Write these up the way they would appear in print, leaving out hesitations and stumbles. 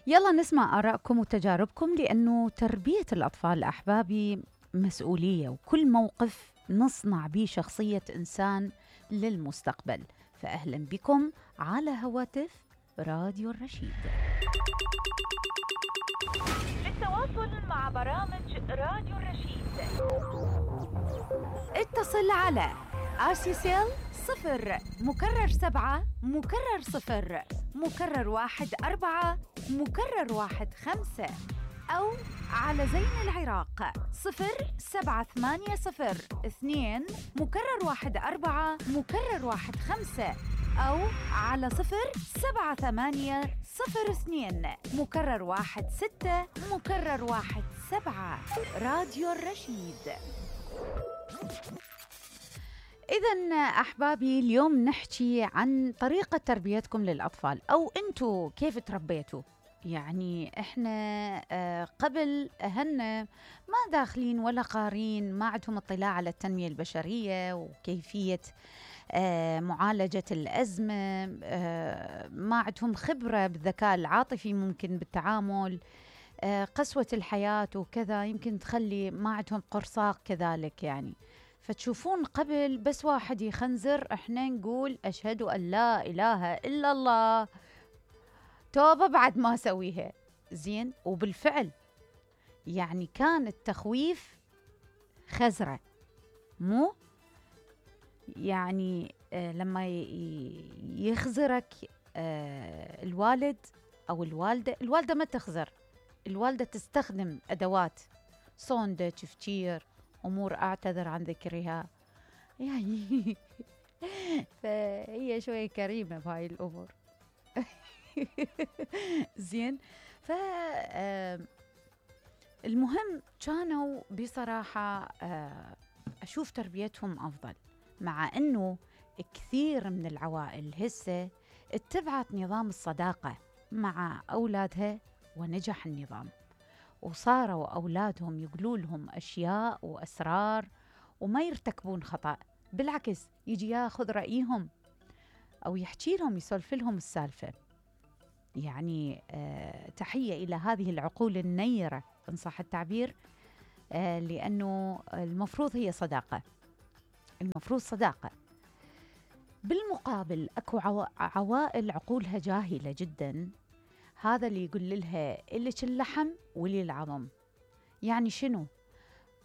يلا نسمع آرائكم وتجاربكم، لأنه تربية الأطفال أحبابي مسؤولية، وكل موقف نصنع به شخصية إنسان للمستقبل. فأهلا بكم على هواتف راديو الرشيد. للتواصل مع برامج راديو الرشيد اتصل على RCCL 0 مكرر 7 مكرر 0 مكرر 1 4 مكرر 1 5 أو على زين العراق 0780 2 مكرر 1 4 مكرر 1 5 أو على 0780 02 مكرر 1 6 مكرر 1 7. راديو الرشيد. إذن أحبابي، اليوم نحكي عن طريقة تربيتكم للأطفال، أو أنتوا كيف تربيتوا. يعني إحنا قبل أهلنا ما داخلين ولا قارين، ما عندهم اطلاع على التنمية البشرية وكيفية معالجة الأزمة، ما عندهم خبرة بالذكاء العاطفي، ممكن بالتعامل، قسوة الحياة وكذا يمكن تخلي ما عندهم قرصاق كذلك يعني. فتشوفون قبل بس واحد يخنزر احنا نقول أشهد أن لا إله إلا الله، توبة بعد ما سويها زين. وبالفعل يعني كان التخويف خزرة، مو يعني لما يخزرك الوالد أو الوالدة ما تخزر، الوالدة تستخدم أدوات صوندة، تفجير، أمور أعتذر عن ذكرها يعني فهي شوية كريمة بهاي الأمور زين. المهم كانوا بصراحة أشوف تربيتهم أفضل، مع أنه كثير من العوائل هسه اتبعت نظام الصداقة مع أولادها ونجح النظام، وصاروا أولادهم يقولوا لهم أشياء وأسرار وما يرتكبون خطأ، بالعكس يجي ياخذ رأيهم أو يحكي لهم، يسولف لهم السالفة. يعني تحية إلى هذه العقول النيرة إن صح التعبير، لأنه المفروض هي صداقة، المفروض صداقة. بالمقابل أكو عوائل عقولها جاهلة جدا، هذا اللي يقول لها إلك اللحم ولي العظم. يعني شنو؟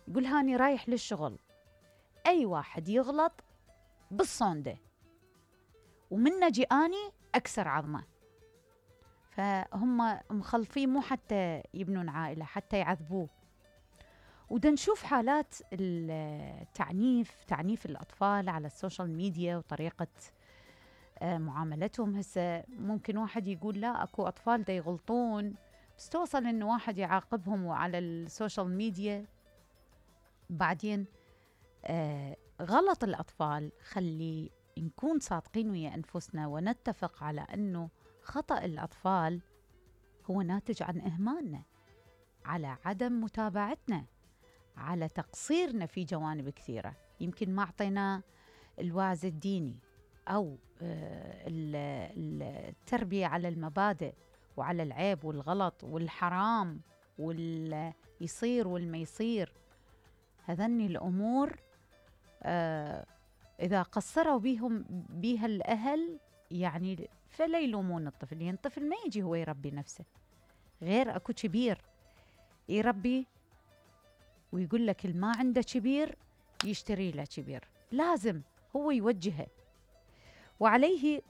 يقول هاني رايح للشغل، أي واحد يغلط بالصوندة ومن نجي أني أكسر عظمه. فهم مخلفين مو حتى يبنون عائلة، حتى يعذبوه. ودا نشوف حالات تعنيف الأطفال على السوشيال ميديا وطريقة معاملتهم. هسه ممكن واحد يقول لا أكو أطفال دا يغلطون، بس توصل إنه واحد يعاقبهم على السوشيال ميديا. بعدين غلط الأطفال، خلي نكون صادقين ويا أنفسنا ونتفق على أنه خطأ الأطفال هو ناتج عن إهمالنا، على عدم متابعتنا، على تقصيرنا في جوانب كثيرة. يمكن ما أعطينا الوعظ الديني أو التربية على المبادئ وعلى العيب والغلط والحرام واليصير والما يصير. هذني الأمور إذا قصروا بيها الأهل يعني فلا يلومون الطفل، يعني الطفل ما يجي هو يربي نفسه، غير أكو كبير يربي ويقول لك ما عنده كبير يشتري له كبير، لازم هو يوجهه. وعليه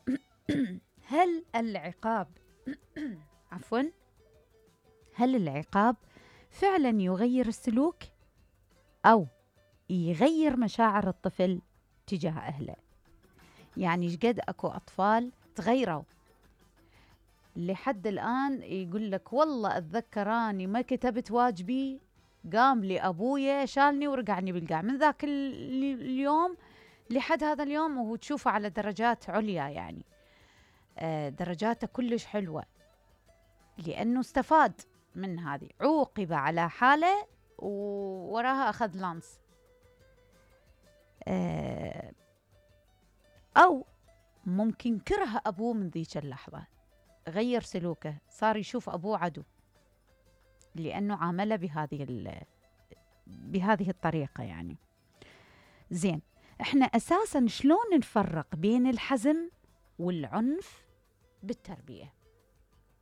هل العقاب عفوا هل العقاب فعلا يغير السلوك أو يغير مشاعر الطفل تجاه أهله؟ يعني شقد أكو أطفال تغيروا لحد الآن يقول لك والله أتذكراني ما كتبت واجبي، قام لي أبويا شالني ورقعني بالقاع. من ذاك اليوم لحد هذا اليوم وهو تشوفه على درجات عليا، يعني درجاته كلش حلوة، لأنه استفاد من هذه، عوقب على حالة ووراها أخذ لانس. أو ممكن كره أبوه من ذيك اللحظة، غير سلوكه، صار يشوف أبوه عدو لأنه عامله بهذه الطريقة يعني. زين، احنا أساساً شلون نفرق بين الحزم والعنف بالتربية؟